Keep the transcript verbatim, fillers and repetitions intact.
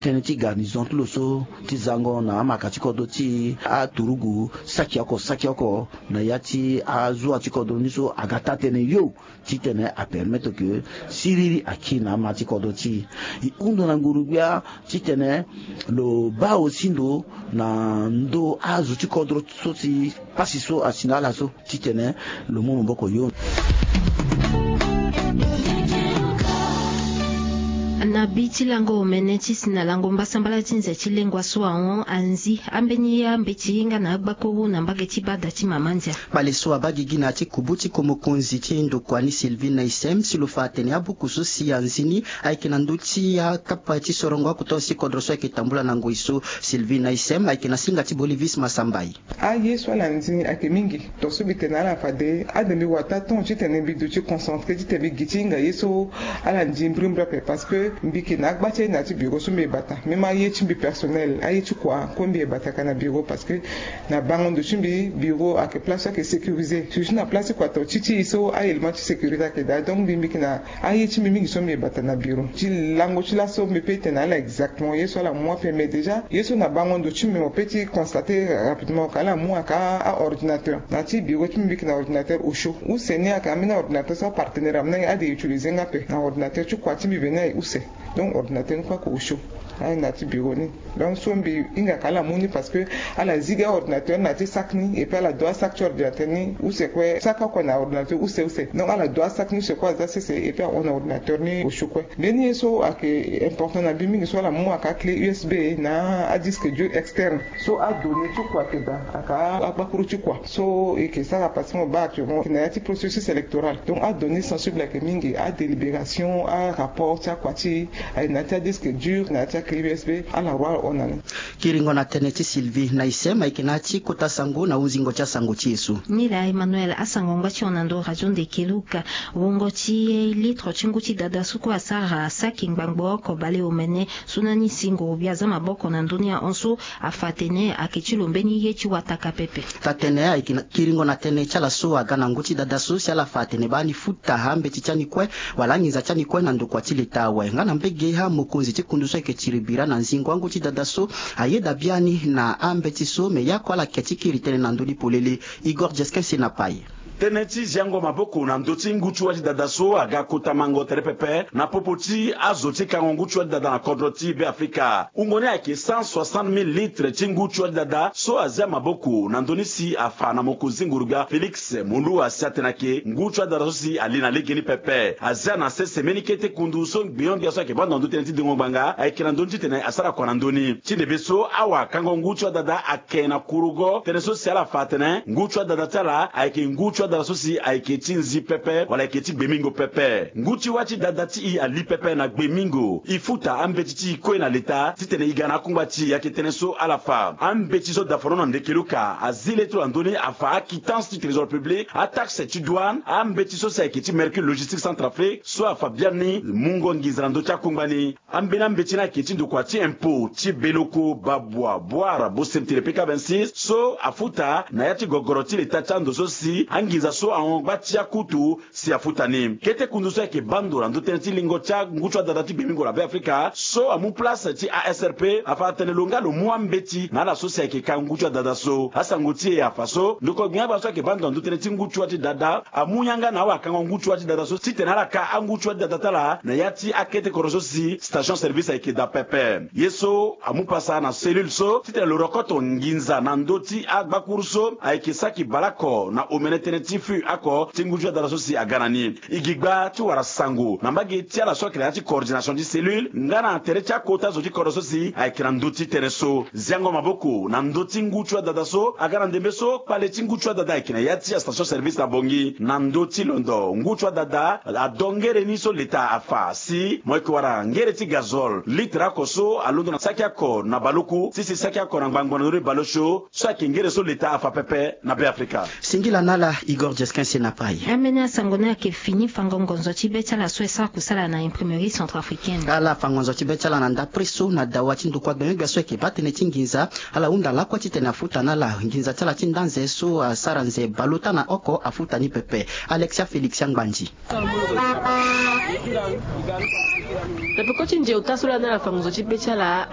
Tënë ti garnison ti lo so ti zango na amaka ti kodro ti e, aturugu saki oko saki oko na ya ti azuwa ti kodro ni so aga taa-tënë yo titene apermettre ke siriri aki na ama ti kodro ti e. E hunda na nguru-gbia titene lo baa aussi ndo na ndö azo ti kodro so si pasi so asi na ala so titene lo mu maboko yo. Na bi ti lango omene ti si na lango mbasambala ti nze ti lengua so ahon anzi ambeni ambeti nga na agbakuru na mbage ti bada ti mama ndia. Kpale so abaa gigi na ya ti kubu ti ko mokonzi ti ndokua ni Sylvie Naïssem si lo fa atene abuku so si anzi ni ayeke na ndö ti akapa ti sorongo akota si kodro so ayeke tambula na ngoi so. Sylvie Naïssem ayeke na singa ti Bolivis Masambai. Aye so ala ndi ni ayeke mingi. Tongaso mbi tene na ala fade ade mbi wara taa temps titene mbi duti concentré titene mbi gi ti hinga ye so ala ndi mbrimbri ape parce que mbi yeke na agba ti aye na ya ti bureau so mbi yeke bata même aye ti mbi personnel aye ti kua kue mbi yeke bata ka na bureau parce que na bango ndo ti mbi bureau ayeke place so ayeke sécurisé surtout na place ti kua to ti ti e so a-élément ti sécurité ayeke daa donc mbi mbi yeke na aye ti mbi mingi so mbi yeke bata na bureau ti lango ti laso mbi pe tene na ala exactement ye so ala mu ape mais déjà ye so na bango ndo ti mbi mo pe ti constaté rapidement ka ala mu ayeke aordinateur na ya ti bureau ti mbi mbi yeke na ordinateur osio use ni ayeke ambeni aordinateur so apartenaire ameni ade e utilisé nga ape na ordinateur ti kua ti mbi veni aye use. Donc ordinateur ni kue ayeke osio aye na ya ti bureau ni. Donc so mbi hinga ka ala mu ni parce que ala zi gi aordinateur ni na ya ti sac ni et puis ala do asac ti ordinateur ni use kue sac oko na ordinateur use use donc ala do asac ni use kue aza sese et puis ahon na ordinateur ni osio kue. Mbeni ye so ayeke important na mbi mingi so ala mu ayeke aclé usb na adisque dur externe so adonnée ti kua ayeke daa ayeke agbakuru ti kua so e yeke sara parce que mo baa actuellement na ya ti processus électoral donc adonnée sensible ayeke mingi adélibération arapport ti akua ti e aye na ya ti adisque dur na ya ti aclé usb ala roi ahon na ni. Kiringo na tënë ti Sylvie Naïssem ayeke na ya ti kota sango na hunzingo ti asango ti e so. Nila Emmanuel asango ngba ti hon na ndo radio Ndekeluka. Wungo ti litre ti ngu ti dada so kue asara saki ngbangbo oko baleomene so na ni si nguru-gbia aza maboko na ndö ni ahon so afa atene ayeke ti lo mbeni ye ti wataka pepe. Taa-tënë ayeke na kiringo na tënë ti ala so aga na ngu ti dada so si ala fa atene baa ni futa ambeti ti ani kue wala anginza ti ani kue na ndokua ti leta awe nga na mbege amokonzi ti kundu so ayeke tiri bira na nzingo angu ti dada so ayeda biani na ambeti so me ya kue ala ke ti kiri tënë na ndö ni polele. Igor Jesquin si na pai. Tënë ti ziango maboko na ndö ti ngu ti wâ ti dada so aga kota mango tere pepe na popo ti azo ti kango ngu ti wâ ti dada na kodro ti Beafrika. Wungo ni ayeke cent soixante mille litres ti ngu ti wâ ti dada so azia maboko na ndö ni si afa na mokonzi nguru-gbia Félix Moloua si atene ayeke ngu ti wâ ti dada so si ali na legeni pepe. Azia na sese mbeni kete kundu so gbenyo-gbia so ayeke baa ndo na ndö tënë ti dengo ngbanga ayeke na ndö ni titene asara kua na ndö ni. Ti ndembe so awakango ngu ti wâ ti dada ake na kurugo tënë so si ala fa atene ngu ti wâ ti dada ti ala ayeke ngu ti wâ ti dada so si ayeke ti nzi pepe wala ayeke ti gbemingo pepe. Ngu ti wâ ti dada ti e ali pepe na gbemingo. E futa ambeti ti e kue na leta titene e ga na akungba ti e ayeke tënë so ala fa. Ambeti so dafano na Ndekeluka azi le ti lo na ndö ni afa aquittance ti trésor public, ataxe ti douane, ambeti so si ayeke ti mercure logistique Centrafrique so afa biani mungo nginza na ndö ti akungba ni. Ambeni ambeti ni ayeke ti ndokua ti impôt ti beloko babua boire bosemtele P K vingt-six so afuta na ya ti gogoro ti leta ti ando so si anginza so ahon gba ti akutu si afuta ni. Kete kundu so ayeke baa ndo na ndö tënë ti lingo ti angu ti wadada ti gbemingo na Beafrika so amu place ti A S R P afa atene lo nga lo mu ambeti na ala so si ayeke ka ngu ti wadada so. Asango ti e afa so ndokua gbinga-gbaa so ayeke baa ndo na ndö tënë ti ngu ti wa ti dada amu yanga na awakango ngu ti wa ti dada so titene ala ka angu ti wa ti dada ti ala na ya ti akete kodro so si station service ayeke daa pepe. Ye so amu pasa na cellule so titene lo rokoto nginza na ndö ti agbakuru so ayeke saki baleoko na omene tënë ti fût oko ti ngu ti wa ti dada so si aga na ni. E gi gba ti wara sango na mbage ti ala so ayeke na ya ti coordination ti cellule nga na tere ti akota zo ti kodro so si ayeke na ndö ti tënë so. Ziango maboko na ndö ti ngu ti wa ti dada so aga na ndembe so kpale ti ngu ti wa ti dada ayeke na ya ti astation service na Bangui na ndö ti londo ngu ti wa ti dada ado ngere ni so leta afa si mo yeke wara ngere ti gazole litre oko so alondo na saki oko na baleoku ti si saki oko na ngbangbo na ndö ni baleosio so ayeke ngere so leta afa pepe na Beafrika. Singila na ala Igor Jesquin si na pai. Ambeni asango ni ayeke fini fango ngonzo ti be ti ala so e sara kusala na imprimerie centrafricaine. Ala fa ngonzo ti be ti ala na ndapre so na dawa ti ndokua gbenyogbia so ayeke baa tënë ti nginza. Ala hunda lakue titene afuta na ala nginza ti ala ti nda nze so asara nze baleota na oko afuta ni pepe. Alexia Félix Angbandi. Na peko ti nze ota so laa na ala fa ngonzo ti be ti ala.